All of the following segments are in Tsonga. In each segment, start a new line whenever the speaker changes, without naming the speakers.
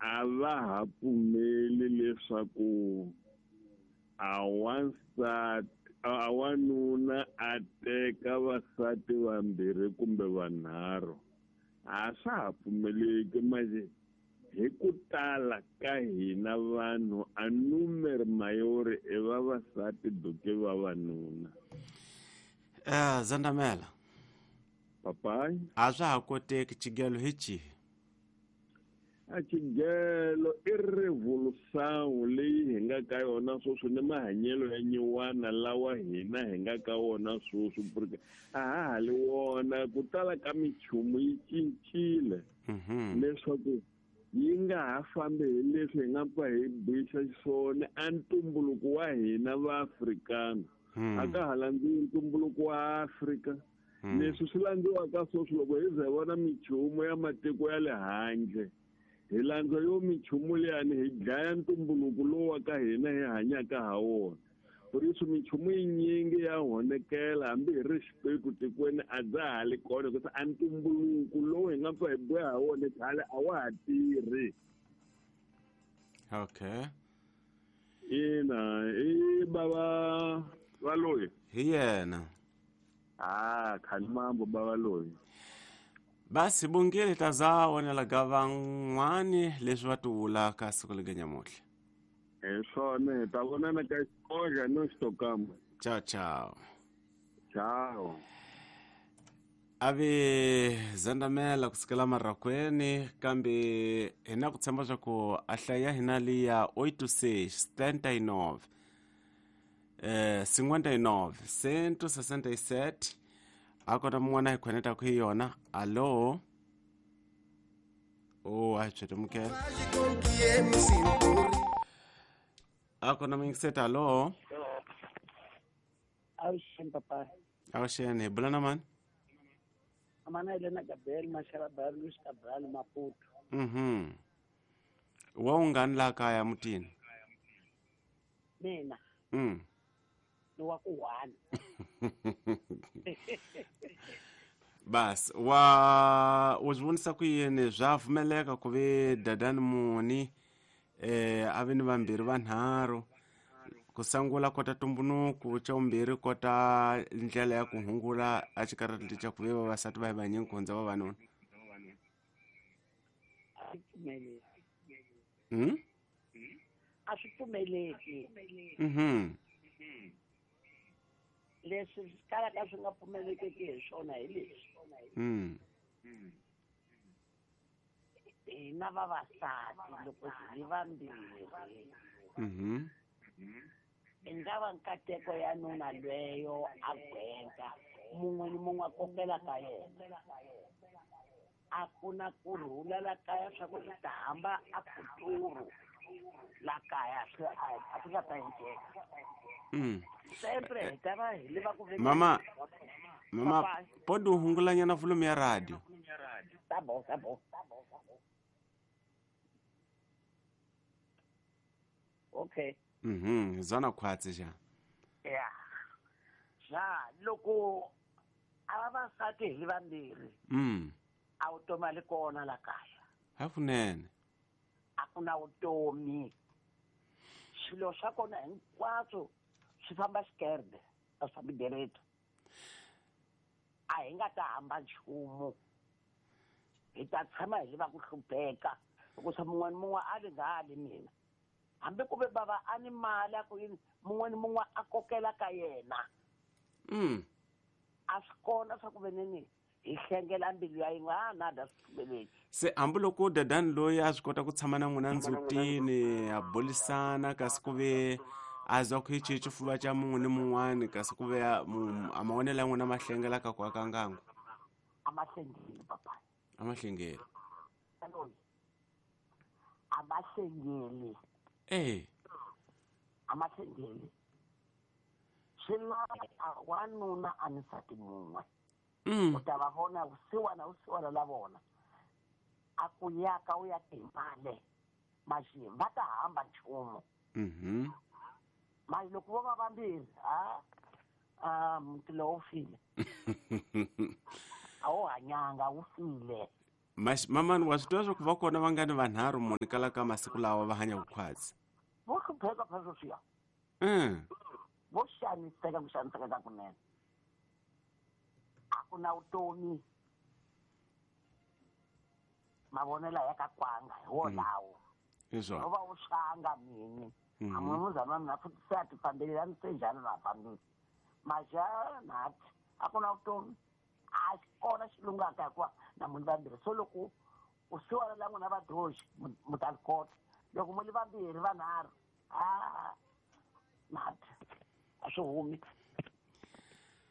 A va ha pfumeli leswaku a wansati a wanuna a teka vasati vambirhi kumbe vanharhu. A swa ha pfumeleki manje hi ku tala ka hina vanhu a número maior i vavasati do que vavanuna.
Zandamela.
Papai.
A swa ha koteki xigelo hi xihi?
A xigelo i revolução leyi hi nga ka yona sweswi ni mahanyelo ya nyiwana lawa hina hi nga ka wona sweswi, porque a ha ha li wona. Ku tala ka minchumu yi cincile leswaku yi nga ha fambi hi leswi hi nga pfa hi bixa xiswona a ntumbuluko wa hina va Afrikana. A ka ha landziwi ntumbuluko wa Afrika. Leswi swi landziwaka sweswi loko hi ze vona minchumu ya matiko ya le handle, hi landza yo minchumu liyani hi dlaya ntumbuluko lowu wa ka hina hi hanyaka ha wona. Por isso minchumu yinyingi ya honekela hambi hi ri xipeku tikweni a bya ha li kona, hikuva a ntumbuluko lowu hi nga pfa hi boha ha wona khale a wa ha tirhi.
Okay.
Ina, i bava va loyi.
Hi yena.
Ah, khani mambo bava loyi.
Basi bungile ta za onela ga van'wani leswi va ti vulaka siku lega nyamutlha.
Hi swona, hi ta vonana ka xikoxa no xitokama.
Ciao ciao.
Ciao.
Ave zandamela kusukela marakweni, kambe hi na ku tshemba swa ku a hlaya hina liya 86 79 59 167 a kota mun'wana hi khonetaka hi yona. Allo? Oh, a hi tswetemukela. A kona muyingiseti. Allo?
Avuxeni papa.
Avuxeni, hi bula na mani?
Amana Elena Gabriel Mashara Bal Luis Cabral Maputo.
Wa ungani laha kaya mutini?
Mina. Ni wa ku one.
Bas, wa u swi vonisa ku yini swa pfumeleka ku ve dadani muni a ve ni vambirhi vanharhu ku sangula kota tumbunuku, xa vumbirhi kota ndlela ya ku hungula a xikarhi xa ku ve vavasati va hi vanyingi ku hundza vavanuna?
A swi pfumeleki. A swi pfumeleki. Leswi swi kalaka swi nga pfumelekeki hi swona hi leswi. Hina vavasati loko hi vambirhi. I nga va nkateko ya nuna lweyo a gwenga mun'we ni mun'we a kokela ka yena. A ku na kurhula la kaya swa ku hi ta hamba a futuro la kaya swi a swi nga ta endleka. Sempre hi ta va hi lava ku veka
Mama, mama, podi u hungulanyana volume ya radio.
Tá bom, tá bom. Okay.
Zona khwatsi xa.
Yeah. Ja, loko a vavasati hi vambirhi. A vutomi a li kona la kaya.
Hakunene.
A ku na vutomi. Swilo swa kona hinkwaswo swi famba xikerde, a swi fambi direto. A hi nga ta hamba nchumu. Hi ta tshama hi lava ku hlupheka. Hikusa mun'we ni mun'we a li nga ali mina. Hambi ku ve bava a ni mali a ku yini, mun'we ni mun'we a kokela ka yena. A swi kona swa ku veneni hi hlengela mbilu ya yin'we, a na da swi pfumeleki.
Se hambiloko dadani loyi a swi kota ku tshama na n'wina ndzutini a bulisana, kasi ku ve a zwa ku hi xihi xifuva xa mun'we ni mun'wani, kasi ku ve a mavonelo ya n'wina ma hlengela ka ku aka ngangu?
A ma hlengeli, papa.
A ma hlengeli.
A ma hlengeli. A ma hlengeli. Swi lava wanuna a ni nsati mun'we. U ta va vona vusiwana vusiwana la vona. A ku yaka u ya timale. Maxi va ta hamba nchumu. Mali loko vo va vambirhi, ha? Muti lowu wu file. A wu hanyanga, wu file.
Mamani wa swi tiva swa ku va kona va nga ni vanharhu muni kala ka masiku lawa va hanya vukhwatsi.
Vo hlupheka phela sweswiya. Vo xaniseka ku xaniseka ka kunene. A ku na vutomi. Mavonelo ya ka kwanga hi wolawo.
Hi swona.
No va u xanga mini. A munhu wa mina futhi se a ti fambeli a ni se njhani na fambile. Maja nathi a ku na vutomi. A xi kona xi lungaka hikuva na munhu vambirhi. So loko u siwana la n'wina vadyohi mu ta li kota. Loko mu li vambirhi vanharhu a nathi a swi humi.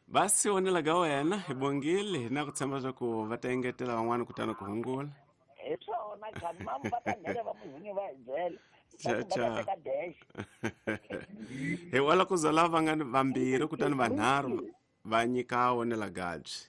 Va si onela ka wena hi bongile hi na ku tshemba swa ku va ta engetela van'wani kutani ku hungula.
Hi swona khani mamu va ta nghena va muhunyi va hi byela.
Cha,
Va
cha.
ta teka dash.
Hi wala ku za lava nga ni vambirhi kutani vanharhu va nyika onela gabyi.